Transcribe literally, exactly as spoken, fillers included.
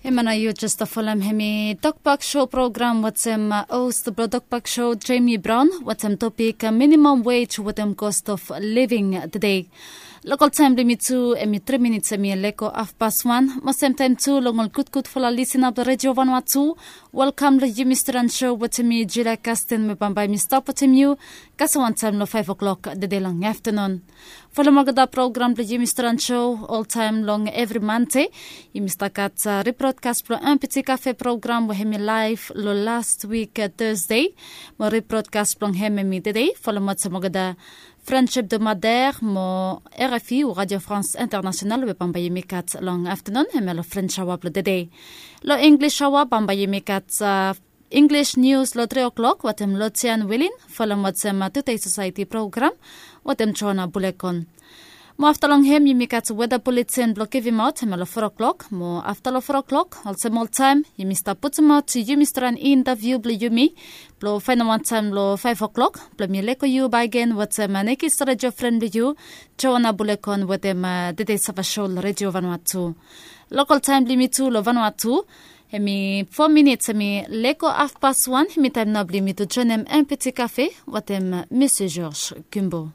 Hemia nao yu jes folem hemi Tokbak Show program wetem host blong Tokbak Show, Jamie Brown, wetem topik minimum wage wetem cost of living tede. Lokal taem blong yumi tu hemi tri minits hemi lego hafpas wan. Mo semtaem tu long ol gudgudfala lisena blong Redio Vanua tu, welkam long yumi stret on show wetem mi, Julia Kasten, mo bambae mi stap wetem yu kasem wantaem long faef o'klok tede long aftenun. Folem olgeta program blong yumi stret on show oltaem long evri Mande. Yumi stap gat rebrodkas blong MPT Cafe program we hemi laef long las wik Tasde. Mo rebrodkas blong hem hemi tede. Folem wetem olgeta Friendship de Madère mo RFI o Radio France International we bambae yumi gat long aftenun hemia long French aoa blong tede. Long English aoa bambae yumi gat English nius long tri o'klok wetem Lotian Wilin, folem wetem Today Society program wetem Joana Bulekon. Mo afta long hem yumi gat weta buletin blong givimaot hemia long fo o'klok. Mo afta long fo o'klok olsem oltaem yumi stap putumaot yumi stret on intaviu blong yumi blong faenem wantaem long faef o'klok blong mi lego yu bakegen wetem nekis redio fren blong yu, Joana Bulekon, wetem tede sava show long Redio Vanua tu. Lokal taem blong yumi tu long Vanua tu hemi fo minits hemi lego hafpas wan. Hemi taem nao blong yumi tu joenem MPT Cafe wetem Monsieur Georges Gumbo.